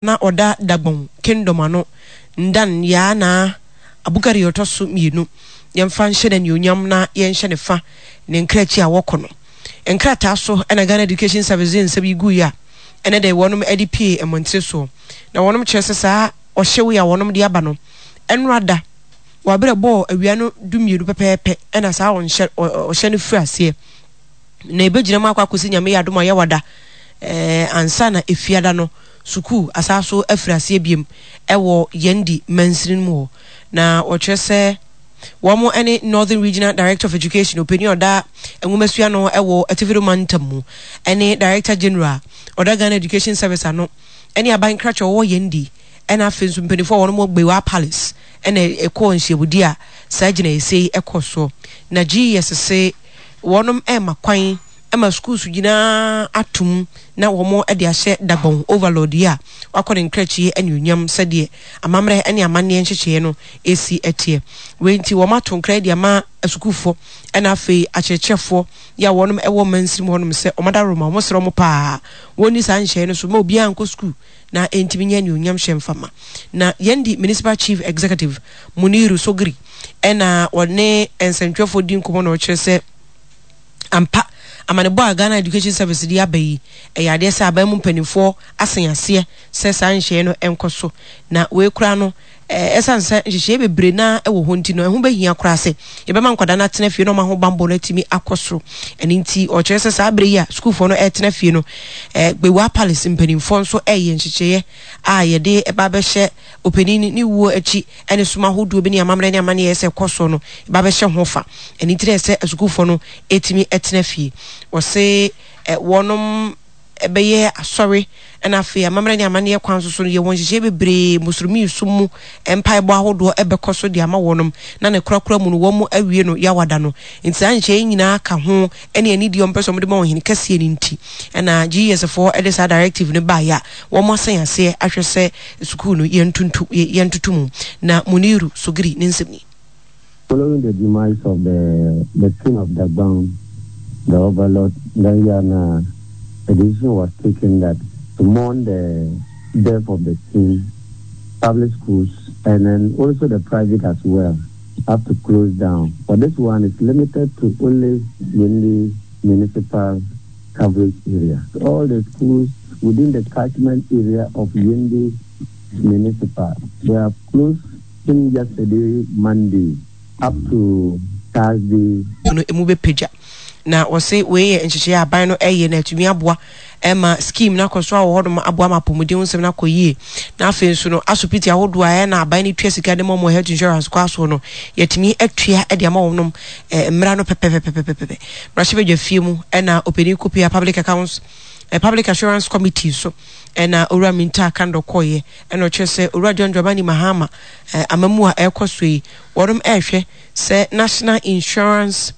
Na ɔda Dagbon Kingdom ano, Ndan Yaa Naa Abukari a ɔtɔ so mmienu. Yɛmfa nhyɛ no anuonyam na yɛnhyɛ no fa ne nkrakyi a wɔkɔ no. Nkrataa so na Ghana Education Service de nsɛm yi guiɛ a ɛnɛ da yi wɔnom de pue mmɔntene soɔ. Na wɔnom kyerɛ sɛ saa ɔhyew yi a wɔnom de aba no, ɛnora da wɔ aberɛ ɛbɔɔ awia no dummienu pɛpɛɛpɛ na saa ɔnhyɛ ɔhyɛ no firi aseɛ. Na ɛbɛgyina mu akɔ akɔsi Nyame yɛ adom a Yawada eh, ansa na Efiada no sukuu asan so afiri aseɛ biom wɔ Yendi mansini no mu hɔ. Na wɔkyerɛ sɛ wɔn ne Northern Regional Director of Education, ɔpanin a ɔda nwomasua ano wɔ Atifido Mantam mu, ne Director General a ɔda Ghana Education Service ano, ne aban krakye a ɔwɔ Yendi, ɛna afei nso mpanimfoɔ a wɔn wɔ Gbewa Palace ɛna ɛkɔɔ nhyiamudie a saa gyinaeɛsie yi ɛkɔɔ soɔ. Na GES se wɔnom ɛrema kwan ma schools nyinaa atom na wɔn de ahyɛ Dagbon Overlord yi a wakɔ ne nkrakyi anuonyam sɛdeɛ amammerɛ ne amanneɛ nhyehyɛeɛ no si teɛ. Wei nti wɔn ato nkra de ama asukuufoɔ ɛna afei akyerɛkyerɛfoɔ yi a wɔnom ɛwɔ mansini mu hɔnom sɛ wɔn adaworoma wɔn srɛ wɔn paa wɔn nni saa nhyɛeɛ no so ma obiara nkɔ sukuu na ɛntumi nyɛ anuonyam hyɛ mfa ma. Na yɛn di Municipal Chief Executive Muniru Sogiri ɛna ɔne nsɛntwerɛfoɔ di nkɔmmɔ na ɔkyerɛ sɛ ampa amanebɔ a Ghana Education Service de aba yi ɛyɛ adeɛ sɛ aban mu mpanimfoɔ asen aseɛ sɛ saa nhyehyɛeɛ no nkɔ so na wei koraa no Ɛsiane sɛ nhyehyɛe bebree no ara wɔ hɔ nti no, ɛho bɛhia koraa sɛ yɛbɛma nkwadaa no atena fie na wɔn ahobammɔ no atumi akɔ soro. Ɛno nti, ɔkyerɛ sɛ saa bere yi a sukuufoɔ no retena fie no, Gbewaa Palace mpanimfoɔ nso reyɛ nhyehyɛeɛ a yɛde ba abɛhyɛ ɔpanin ne wuo akyi ne som ahodoɔ bi ne amammerɛ ne amanneɛ sɛ ɛkɔ soɔ no, ba abɛhyɛ ho fa. Ɛno nti na ɛsɛ asukuufoɔ no tumi tena fie. Wɔse wɔnom bɛyɛ asɔre na afei amammerɛ ne amanneɛ kwan so so no, yɛwɔ nhyehyɛe bebree, Musulmi som mu mpaebɔ ahodoɔ bɛkɔ so de ama wɔnom, na ne korakora mu no wɔn awie no Yawada no. Nti saa nhyehyɛe yi nyinaa ka ho ne anidie a wɔpɛ sɛ wɔde ma ɔhene kɛseɛ no nti na GES foɔ de saa directive no baeɛ a wɔn asan aseɛ ahwɛ sɛ sukuu no yɛntonto yɛntoto mu. Na Muniru Sogiri ne nsɛm ni. Following the demise of the the king of Dagbang, the overlord Danyana, a decision was taken that to mourn the death of the king, public schools and then also the private as well have to close down. But this one is limited to only Yendi municipal coverage area. All the schools within the catchment area of Yendi municipal, they are closed since yesterday Monday up to Thursday. No emu bɛpagya. Na wɔse wei yɛ nhyehyɛeɛ a aban no ɛyɛ na atumi aboa ɛma scheme no akɔ so a wɔ hɔnom aboa ma apɔmuden ho nsɛm no akɔ yie. Na afei nso no asopiti ahodoɔ a ɛyɛ na aban no tua sika de ma wɔn health insurance kɔ asoɔ no yɛatumi atua de ama wɔnom eh, mmara no pɛpɛpɛpɛpɛpɛ. Mmarahyɛbadwa fie mu ɛna ɔpanin Kopia Public Accounts eh, Public Assurance Committee so ɛna Owura Minta Kandor kɔeɛ ɛna ɔkyerɛ sɛ Owura John Dramani Mahama eh, amamu a ɛrekɔ so yi wɔnom ɛrehwɛ sɛ National Insurance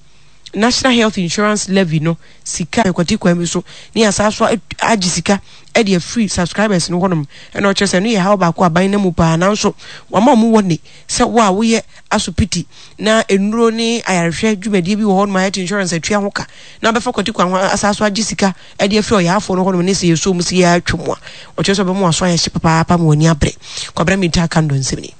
National Health Insurance Levy no sika ɛkwati kwan bi so ne yɛasan so agye sika ɛde afiri subscribers no hɔnom ɛna ɔkyerɛ sɛ ɛno yɛ haw baako aban no mu paa nanso wama wɔn wɔ ne sɛ wo a woyɛ asopiti na nnuro ne ayarehwɛ dwumadie bi wɔ hɔnom a health insurance atua ho ka na abɛfa kwati kwan ho asan so agye sika ɛde afiri ɔyaafoɔ no hɔnom ne sɛ yɛsɔ mu sɛ yɛatwa mu a ɔkyerɛ sɛ ɔbɛma waso ayɛ hye papaapa ma w'ani abere. Kwabena Mintah Kandor nsɛm ni.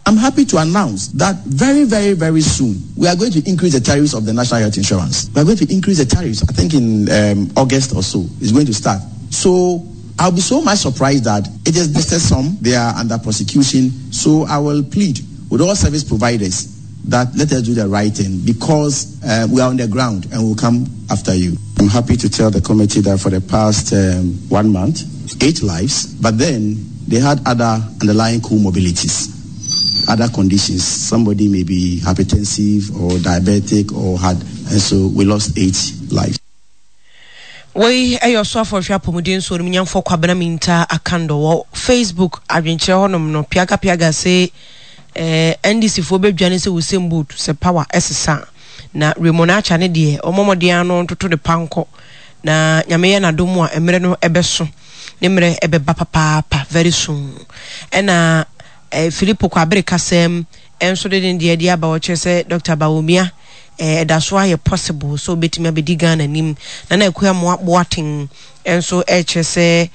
I'm happy to announce that very, very, very soon we are going to increase the tariffs of the national health insurance. We are going to increase the tariffs. I think in um, August or so it's going to start. So I'll be so much surprised that it is listed some they are under prosecution. So I will plead with all service providers that let us do the right thing because uh, we are on the ground and we'll come after you. I'm happy to tell the committee that for the past um, one month, eight lives, but then they had other underlying comorbidities, other conditions. Somebody may be hypertensive or diabetic or had, and so we lost eight lives. Wei yɛ Ɔsoafo Ɔhwɛ Apɔmuden so Onimnyamfoɔ Kwabena Mintah Akandoh wɔ Facebook adwenkyerɛ hɔnom no Piaga Piaga se eh, NDC foɔ bɛdwane sɛ Usain Bolt sɛ power ɛsesa a. Na Raymond Archer ne deɛ ɔmmɔ mmɔden ara no ntoto ne pa nkɔ na Nyame yɛ n'adom a mmerɛ no ɛbɛso ne mmerɛ ɛbɛba papaapa very soon. Ɛna eh, Filippo Kwabere Kasɛm nso de ne deɛ de aba ɔkyerɛ sɛ Dr. Bawumia eh, ɛda so ayɛ possible sɛ ɔbɛtumi abɛdi Ghana anim. Nana Akua Amoah Boateng nso ɛrekyerɛ sɛ